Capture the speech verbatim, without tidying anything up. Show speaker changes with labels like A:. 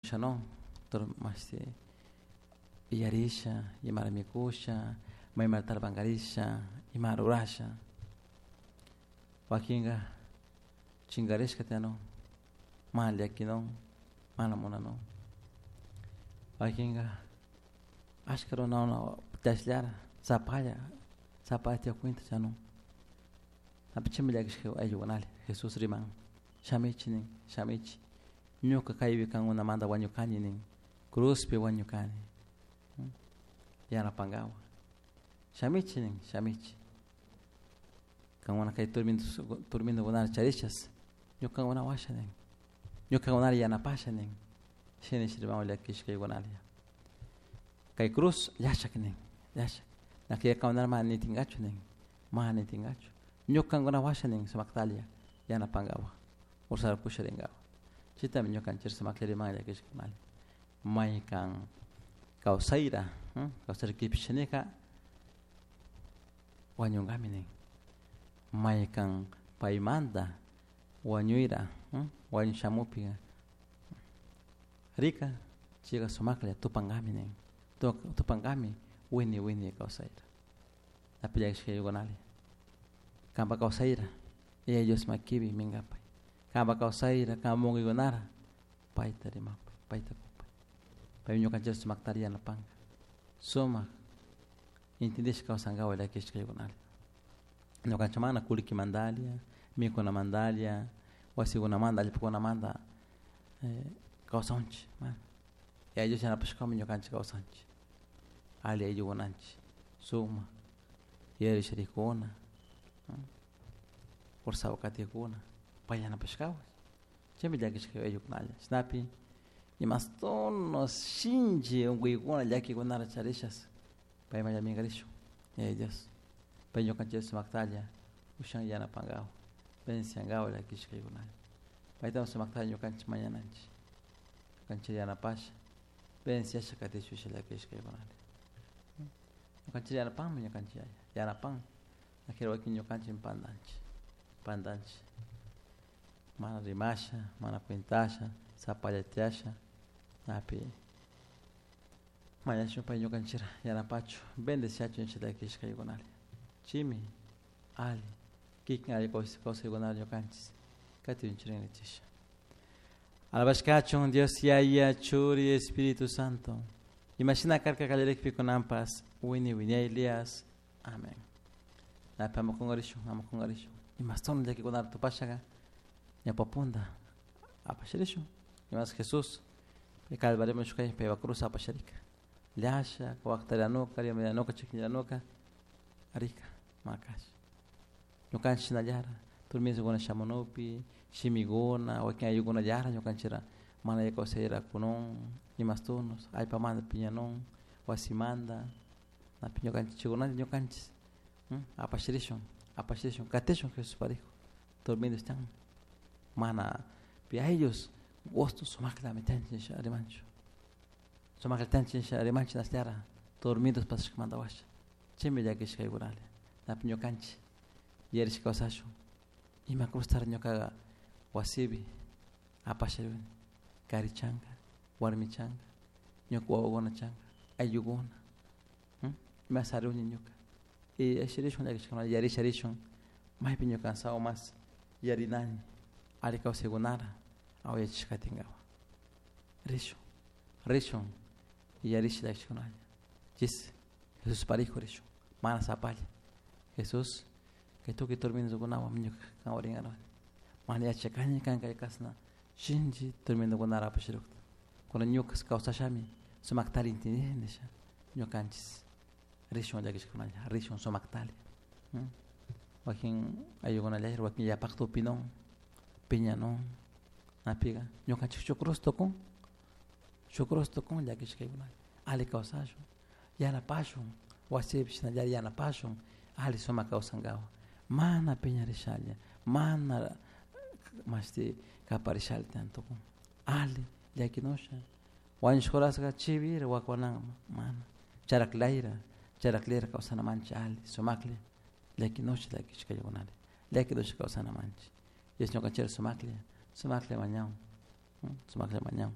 A: Ushanon mashti iyarisha, imara mikusha, maymara tarpankarisha, ima rurasha. Wakinka chinkarishka tiyanun, mana llakinon, mana munanun. Wakinka ashka runakuna tiyashllara sapalla, sapalla tiyakuynta chanun. Chaymi llakishka ayllukunalla Jesús riman shamichik nin, shamichik ñuka kaypi kankunamanta wañukani nin, cruzpi wañukani yanapankapak shamichik nin, shamichik kankuna kay turmintukunata charishas ñukankuna washa nin, ñukakunata yanapasha nin, shina riman llakishkaykunalla. Kay cruz llashak nin, llashak, kankunata mana nitinkachu nin, mana nitinkachu, ñukankuna washa nin sumaktalla yanapankapak ursarakusha rinkapak. Chaytami ñukanchik sumaklla riman llakishkakunalla. Maykan kawsayra, kawsayra kipishnika wañunkami nin, maykan paymanta wañuyra wañuy shamukpika rika chayka sumaklla tupankami nin, tupankami wini wini kawsayta. Napi llakishkaykunalla kanpak kawsayra Yaya Dios makipi minkapay, kanpak kawsayra kanpak munkuykunara payta rimapay, payta kupay, paymi ñukanchik sumaktari yanapanka, sumak intindishka kawsankapak llakishkaykunalla. Ñukanchik mana kullkimantalla, mikunamantalla, wasikunamanta, allpakunamanta kawsanchik mana. Yaya Dios yanapashkami ñukanchik kawsanchik, alli ayllukunanchik, sumak yuyarishkarikuna, fuerzawan katikuna pay yanapashkawan chaymi llakishka ayllukunalla. Chashnapi imastono shinchi unkuykuna llakikunata charishas payman minkarishun Yaya Dios, pay ñukanchik sumaktalla ushan yanapankapak bendiciankapak llakishkaykunalla. Paytami sumaktalla ñukanchik mañananchik, ñukanchik yanapasha bendiciasha katishun llakishkaykunalla. Ñukanchik yanapanmi ñukanchik yaya, yanapan wakin ñukanchik pantanchik, pantanchik mana rimasha, mana cuentasha, sapalla tiyasha, napi mañashun pay ñukanchik yanapachun bendiciachun llakishkaykunalla. Chaymi alli kikin alli kawsaykunata ñukanchik katichun nichisha. Alabashkachun Dios Yaya, Churi, Espíritu Santo. Imashina karka kallarikpi kunanpas wini wiñaylias. Amén. Napi ama kunkarishun, ama kunkarishun. Imaston llakikunata tupashaka ñawpa apasharishun. Imas Jesús pay Calvarioman shukay paypa cruz apasharika. Llasha, waktarianuka, riamarianuka, chikñiranuka, rika, makash. Ñukanchik shinallara turminsukuna shamunupi, shimikuna, wakin ayllukunallara ñukanchikra mana alli kawsayra kunun, imastunos, allpamanta piñanun, wasimanta, napi ñukanchik chaykunalla ñukanchik apasharishun, apasharishun, katishun Jesús parijo, turmintus tiyan, mana pi ayllos gusto sumaklami tiyanchik nisha rimanchu, sumaklla tiyanchik nisha rimanchik ashlara turmintus pasashkamanta washa, chaymi llakishkaykunalla, napi ñukanchik yuyarishka kawsashun, ima cruztara ñukaka wasipi apasharikuni, kari chanka, warmi chanka, ñuka wawakuna chanka, ayllukuna, ima saruni ñuka, y ashirishun llakishkakunalla yarisharishun maypi ñuka sawa mas yarinani alli kawsaykunara awayachishka katinkapak. Rishun, rishun yarish llakishkakunalla, chis Jesús parijo rishun, mana sapalla, Jesús kay tukuy turmintukunawan ñuka kanwan rinkarani, mana yachakani kan kay kashna shinchi turmintukunara apasharukta, kunan ñuka kawsashami sumaktari intindini nisha ñukanchik rishun llakishkakunalla, rishun sumaktalla, wakin ayllukunalla wakin yapakta upinun, piñanun, napika ñukanchik shuk cruz tukun, shuk cruz tukun llakishkaykunalla, alli kawsashun, yanapashun, wasipi shinallara yanapashun, alli sumak kawsankapak, mana piñarishalla, mana mashti kaparishalla tiyan tukun, alli llakinusha, wañushka horaska chivira wakunaman mana, charaklayra, charaklayra kawsanamanchik alli sumaklla llakinusha llakishkaykunalla, llakinusha kawsanamanchik, Dios ñukanchikta sumaklla, sumaklla mañan, sumaklla mañan.